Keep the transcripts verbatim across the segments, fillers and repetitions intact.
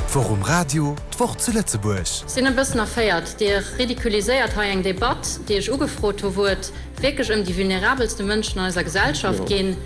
D'Woch um Radio, d'Woch zu Lëtzebuerg. Sinn e bëssen erféiert. Dir ridiculiséiert hei eng Debatt, déi ech ugefrot hu wou et wierklech ëm déi vulnerabelste Mënschen an eiser Gesellschaft geet,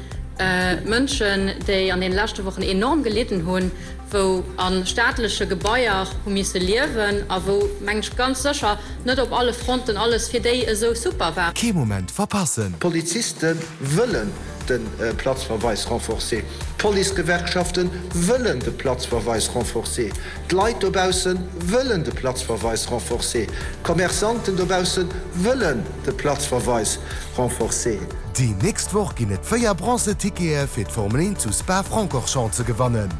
Mënschen, déi an deene leschte Wochen enorm gelidden hunn, wou a staatleche Gebaier hu misse liewen a wou, mengen ech, ganz sécher net op alle Fronten alles fir déi esou super war. Kee Moment verpassen! D'Poliziste wëllen de Platzverweis renforcé, d'Policegewerkschafte wëllen de Platzverweis renforcé, d'Leit dobausse wëllen de Platzverweis renforcé, d'Commerçanten dobausse wëllen de Platzverweis renforcé. Déi nächst Woch ginn et véier Bronze-Tickete fir d'Formel eent zu Spa-Francorchamps ze gewannen.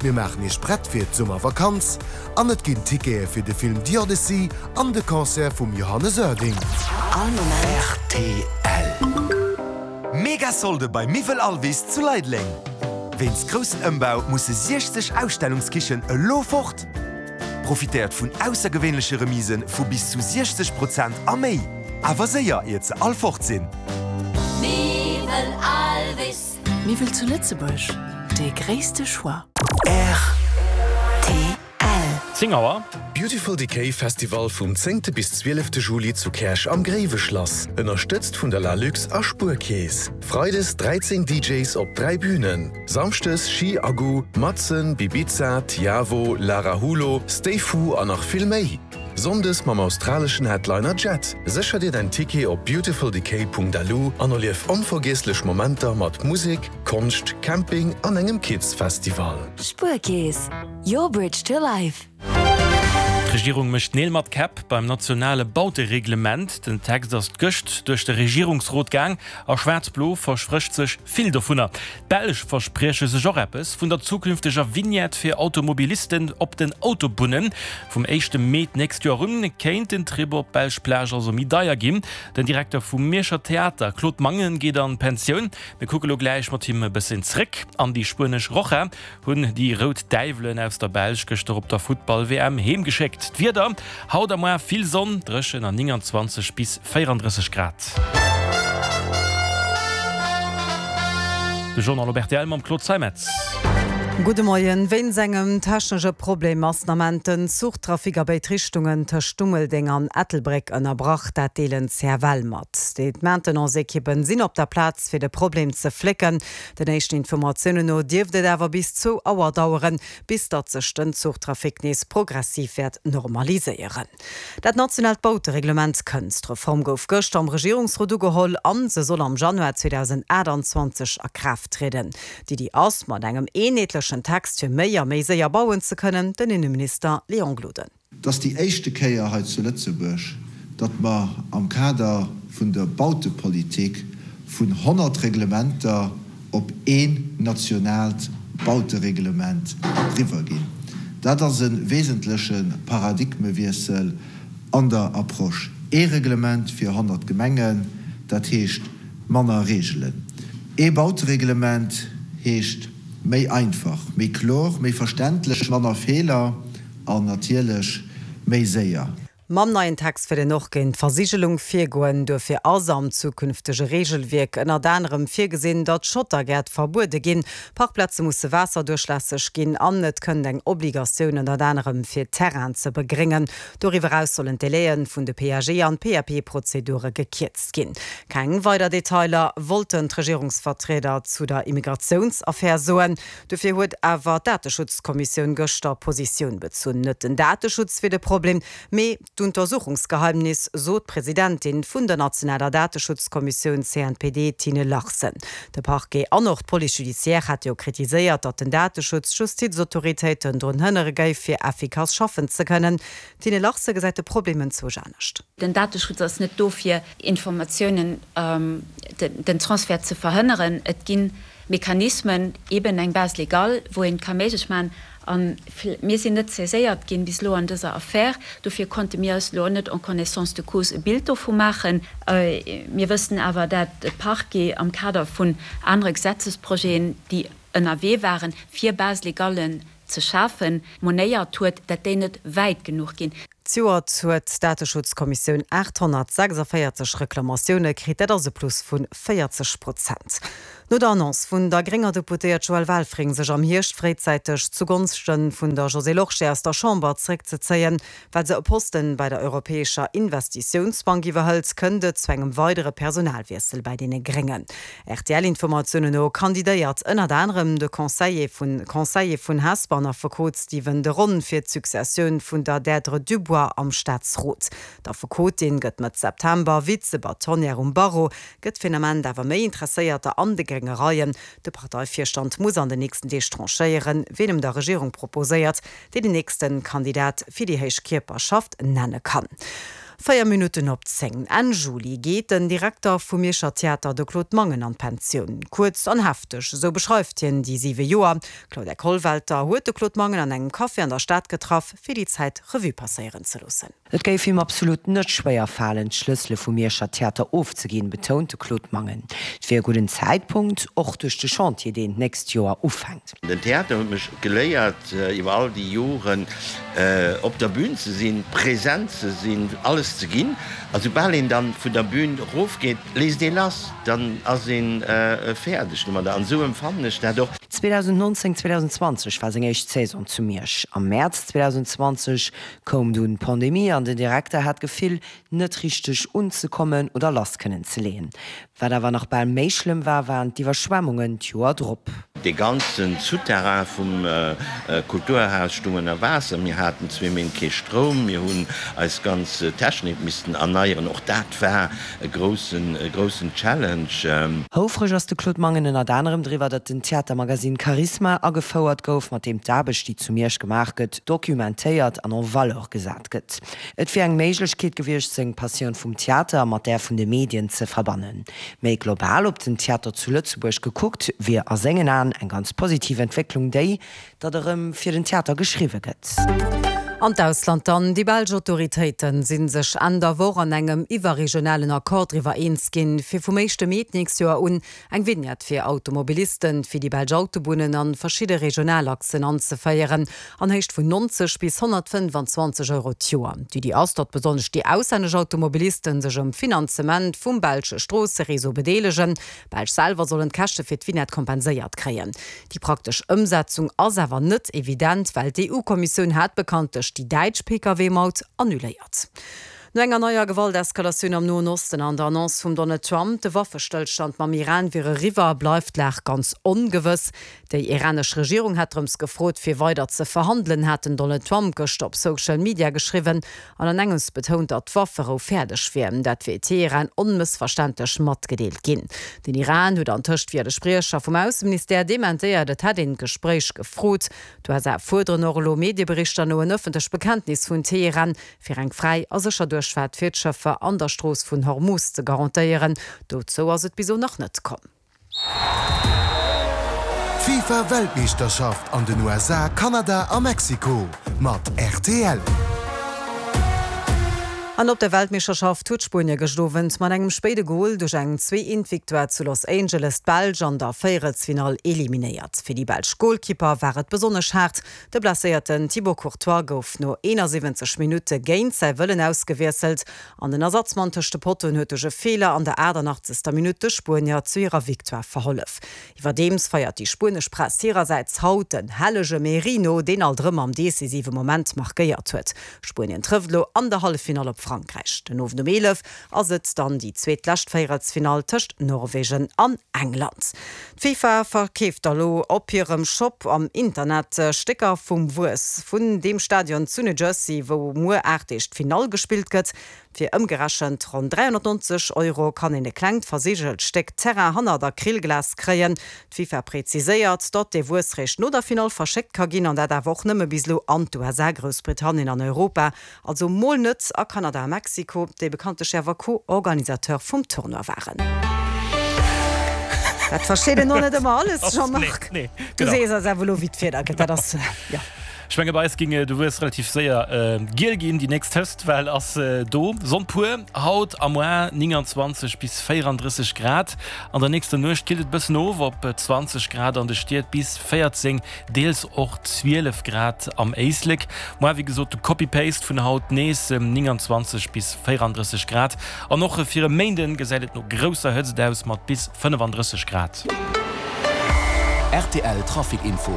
Mir maachen Iech prett fir d'Summervakanz an et ginn Tickete fir de Film The Odyssey an de Concert vum Johannes Oerding. All Moment. Rtl. Mega Solde bei Miwwel Alvis zu Leideleng! Wéinst groussen Ëmbau musse siechzeg Ausstellungskichen elo fort! Profitéiert vun aussergewéinleche Remise vu bis zu siechzeg Prozent a méi! Awer séier, iert se all fort sinn! Miwwel Alvis. Miwwel zu Lëtzebuerg, dee gréisste Choix. Rtl. Zéng Auer. Beautiful Decay Festival vum zéngte bis zwielefte Juli zu Käerch am Gréiweschlass. Ënnerstëtzt vun der Lalux a Spuerkeess. Freides dräizéng D Js op dräi Bünen. Samschdes Ski Aggu, Matzen, Bibiza, Tiavo, Lara Hulo, Stay Fu an nach vill méi. Sonndes mam australeschen Headliner Jet. Sécher dir däin Ticket op beautifuldecay Punkt L U an erlief onvergiesslech Momenter mat Musek, Konscht, Camping an engem Kids-Festival. Spuerkeess, your bridge to life. D'Regierung mécht Neel mat Käpp beim nationale Bautereglement. Den Text ass gëscht duerch de Regierungsrot gaang a Schwaarz-Blo versprécht sech vill dovunner. D'Belsch versprieche sech och eppes vun der zukünfteger Vignette fir Automobilisten op den Autobunnen. Vum éischte Mee d'nächst Joer un kéint den Trip op d'belsch Plage also méi deier ginn. Den Direkter vum Mierscher Theater Claude Mangen geet an Pensioun. Mir kucke lo gläich mat him e bëssen zréck an déi spuenesch Roja hunn déi rout Däiwelen aus der Belsch gëschter op der Futtball-W M heemgeschéckt. D'Wieder, Haut a muer vill Sonn, dréchen an nénganzwanzeg bis véierandrësseg Grad. De Journal op R T L mam Claude Zeimetz. Gudde Moien. Wéinst engem technesche Problem ass den Ament den Zuchtrafic a béid Richtungen tëscht Dummeldeng an Ettelbréck ënnerbrach, dat deelen d'C F L mat. D'Maintenance-Ekippen sinn op der Plaz fir de Problem ze flécken. Den éischten Informatiounen no dierft et awer bis zwou Auer daueren, bis datt sech den Zuchtrafic nees progressiv wäert normaliséieren. Dat nationaalt Bautereglement kënnt. D'Reform gouf gëschter am Regierungsrot ugeholl an se soll am Januar zweedausendaachtanzwanzeg a Kraaft trieden. D'Iddi ass, mat engem eenheetlechen Text fir méi a méi séier bauen ze kënnen, den Inneminister Léon Gloden. Et ass déi éischte Kéier hei zu Lëtzebuerg, datt mer am Kader vun der Bautepolitik vun honnert Reglementer op een nationaalt Bautereglement eriwwerginn. Dat ass e wesentleche Paradigmewiessel an der Approche. Ee Reglement fir honnert Gemengen, dat heescht manner Reegelen. Ee Bautereglement heescht méi einfach, méi kloer, méi verständlech, manner Feeler an natierlech méi séier. Mam neien Text wëll een och géint d'Versigelung virgoen. Duerfir ass am zukünftege Reegelwierk ënnert anerem virgesinn, datt Schottergäert verbuede ginn, Parkplaze musse waasserduerchlässeg ginn an et kënnt eng Obligatioun ënnert anerem fir Terrainen ze begréngen. Doriwwer eraus sollen d'Délaië vun de P A G an P A P-Prozedure gekierzt ginn. Keng weider Detailer wollten d'Regierungsvertrieder zu der Immigratiounsaffär soen. Dofir huet awer d'Dateschutzkommissioun gëschter Positioun bezunn. Net den Dateschutz wier de Problem, mee d'Untersuchungsgeheimnis, sot d'Presidentin vun der nationaler Dateschutzkommissioun C N P D Tine Larsen. De Parquet an och d'Police judiciaire hat jo kritiséiert, datt den Dateschutz d'Justizautoritéiten drun hënnere géif fir effikass schaffen ze kënnen. Tine Larsen gesäit de Problem enzwousch anescht. Den Dateschutz ass net do fir Informatiounen den Transfert ze verhënneren. Et ginn Mechanismen, eben eng Base légale, wou een ka méiglech maachen. A mir sinn net saiséiert ginn bis elo an dëser Affär, dofir konnte mir eis elo net en connaissance de cause e Bild dovu maachen. Mir wëssen awer, dat de Parquet am Kader vun anere Gesetzesprojeten, déi ënnerwee waren, fir Base légallen ze schafen, monéiert huet, dat déi net wäit genuch ginn. Zejoert huet d'Dateschutzkommissioun aathonnertsechsundvéierzeg Reklamatioune kritt, dat ass e Plus vu véierzeg Prozent. No der Annonce vun der grénger Deputéiert Joëlle Welfring, sech am Hierscht fréizäiteg zugonschte vun der Josée Lorsché aus der Chamber zeréckzezéien, well se e Posten bei der Europäescher Investitiounsbank iwwerhëlt, kënnt et zu engem weidere Personalwiessel bei deene Gréngen. R T L-Informatiounen no kandidéiert ënnert anerem de Conseiller vun Conseiller vun Hesper an Affekot Stephen de Ron fir d'Successioun vun der Deirdre Dubois am Staatsrot. D'Affekotin gëtt Mëtt September Vize-Bâtonnière um Barreau, gëtt fir den Ament awer méi Interesséierter an de grénge Reien. De Parteivirstand muss an den nächsten Deeg tranchéieren, wien em der Regierung proposéiert, déi den nächste Kandidat fir déi héich Kierperschaft nenne kann. Véier Minutten op zéng. Enn Juli geet den Direkter vum Mierscher Theater, de Claude Mangen, an d'Pensioun. Kuerz an hefteg, esou beschreift hien déi siwe Joer. D'Claudia Kollwelter huet de Claude Mangen an engem Café an der Stad getraff, fir déi Zäit Revue passéieren ze loossen. Et géif him absolut net schwéier falen, d'Schlëssele vum Mierscher Theater ofzeginn, betount de Claude Mangen. Et wier e gudden Zäitpunkt, och duerch de Chantier, deen d'nächst Joer ufänkt. Den Theater huet mech geléiert, iwwer all déi Joren op der Bühn ze sinn, present ze sinn, alles ze ginn. A soubal een dann vun der Bühn erofgeet, léisst ee lass, dann ass ee fäerdeg domadder. An esou empfannen ech dat och. zweedausendnonzéng, zweedausendzwanzeg war seng éischt Saison zu Miersch. Am Mäerz zweedausendenzwanzeg koum dunn d'Pandemie an den Direkter hat d'Gefill, net richteg unzekommen oder lass kënnen ze leeën. Wat awer nach bal méi schlëmm war, waren d'Iwwerschwemmungen d'Joer drop. Dee ganze Souterrain vum Kulturhaus stung ënner Waasser. Mir haten zwee Méint kee Stroum. Mir hunn eis ganz Technik missten erneieren. Och dat war e groussen, e groussen Challenge. Houfreg ass de Claude Mangen ënnert anerem driwwer, datt den Theatermagasinn Charisma agefouert gouf, mat deem d'Aarbecht, déi zu Miersch gemaach gëtt, documentéiert an en valeur gesat gëtt. Et wier eng Méiglechkeet gewiescht, seng Passioun vum Theater mat där vun de Medien ze verbannen. Méi global op den Theater zu Lëtzebuerg gekuckt, wier a sengen Aen eng ganz positiv Entwécklung déi, datt erëm fir den Theater geschriwwe gëtt. An d'Ausland dann, Déi belsch Autoritéite si sech Enn der Woch an engem iwwerregionalen Accord driwwer eens ginn, fir vum éischte Mee d'nächst Joer un eng Vignette fir Automobilisten fir déi belsch Autobunnen an verschidde Regionalachsen anzeféieren, an Héicht vun neunzeg bis honnertfënnfanzwanzeg Euro d'Joer. D'Iddi ass, datt besonnesch déi auslännesch Automobilisten sech um Finanzement vum belsche Stroossereseau bedeelegen. D'Belsch selwer sollen d'Käschte fir d'Vignette kompenséiert kréien. Déi praktesch Ëmsetzung ass awer net evident, well d'E U-Kommissioun hat bekanntlech déi däitsch P K W-Maut annuléiert. No enger neier Gewalteskalatioun am Noen Osten an der Annonce vum Donald Trump, de Waffestëllstand mam Iran wier eriwwer, bleift d'Lag ganz ongewëss. Déi iranesch Regierung hätt drëms gefrot, fir weider ze verhandelen, hat den Donald Trump gëschter op Social Media geschriwwen an an engems betount, datt d'Wafferou fäerdeg wier. Dat wier Teheran onmëssverständlech matgedeelt ginn. Den Iran huet antëscht via de Spriecher vum Ausseministère dementéiert, et hätt een d'Gespréich gefrot. D'U S A fuerderen och elo Medieberichter no en ëffentlecht Bekenntnis vun Teheran, fir eng fräi a sécher Duerchfaart fir d'Schëffer an der Strooss vun Hormuz ze garantéieren. Dozou ass et bis elo nach net komm. D'FIFA Weltmeeschterschaft an den U S A, Kanada a Mexiko mat R T L. An op der Weltmeeschterschaft huet Spuenie gëschter Owend mat engem spéide Gol duerch eng zwee-eent-Victoire zu Los Angeles d'Belsch an der Véierelsfinall eliminéiert. Fir déi belsch Golkipper war et besonnesch haart. De blesséierten Thibaut Courtois gouf no eenasiwwenzeg Minutte géint säi Wëllen ausgewiesselt an den Ersatzmann tëscht de Pottoen huet duerch e Feeler an der aachtanachtzeger Minutt de Spuenier zu hirer Victoire verhollef. Iwwerdeems feiert déi spuenesch Press hirersäits haut den hellege Merino, deen alt erëm am decisive Moment markéiert huet. Spuenien trëfft elo an der Halleffinall op Frankräich. Den Owend um eelef ass et dann déi zweetlescht Véierelsfinall tëscht Norwegen an England. D'FIFA verkeeft elo op hirem Shop am Internet Stécker vum Wuess vun deem Stadion zu New Jersey, wou muer aacht Deeg d'Finall gespillt gëtt. Fir ëmgerechent ronn dräihonnertneunzeg Euro kann een e klengt versigelt Stéck Terrain hannert Acrylglas kréien. D'FIFA präziséiert, datt dee Wuess réischt no der Finall verschéckt ka ginn an dat awer och nëmme bis elo an d'U S A, Groussbritannien an Europa, also mol net a Kanada a Mexiko, déi bekanntlech awer Co-Organisateur vum Tournoi waren. Dat versteet een och net ëmmer alles, Jean-Marc. Nee, Du genau. sees eis awer elo, wéi d'Wieder gëtt. Dat ass, jo. Ech menge bei eis géing de Wuess relativ séier giel ginn. Déi nächst Hëtztwell ass do. Sonn pur haut a moar, neunundzwanzeg bis véierunddrësseg Grad. An der nächster Nuecht killt et bëssen of op zwanzeg Grad an de Stied bis véierzéng, deels och zwielef Grad am Éislek. Moar wéi gesot de Copy-Paste vun haut, nees neunundzwanzeg bis véierunddrësseg Grad. An och fir e Méinden gesäit et no grousser Hëtzt aus mat bis fënnefandrësseg Grad. Rtl Trafic Info.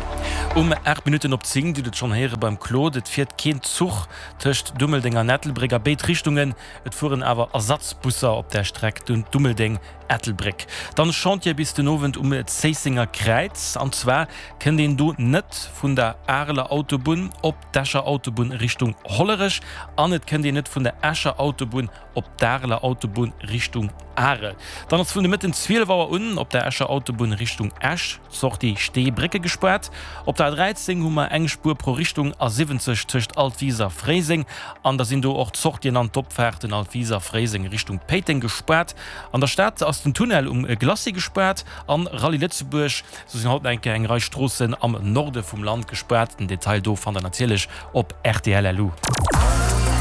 Um aacht Minutten op zéng, Dir hutt et schonn héiere beim Claude, et fiert keen Zuch tëscht Dummeldeng an Ettelbréck a béid Richtungen. Et fueren awer Ersatzbusser op där Streck Dummeldeng-Ettelbréck. Dann Chantier bis den Owend um Zéissenger Kräiz. An zwar kënnt een do net vun der Areler Autobunn op d'Escher Autobunn Richtung Hollerech an et kënnt een net vun der Escher Autobunn op d'Areler Autobunn Richtung Arel. Dann ass vun de Mëtten zwielef Auer un op der Escher Autobunn Richtung Esch d'Sortie Steebrécke gespaart. Op der A dräizéng hu mer eng Spuer pro Richtung, A siwwenzeg tëscht Altwis a Fréiseng an da sinn do och d'Sortien an d'Opfaarten Altwis a Fréiseng Richtung Péiteng gespaart. An der Stad ass den Tunnel um Glacis gespaart an Rallye Lëtzebuerg. Sou sinn haut nach eng Kéier eng Rei Stroossen am Norde vum Land gespaart. Den Detail do fannt der natierlech op rtl. Lu.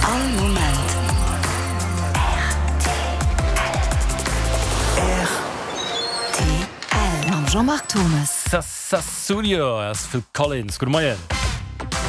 All Moment rtl. Mam Jean-Marc Thomes. Sassulio ass Phil Collins. Gudde Moien.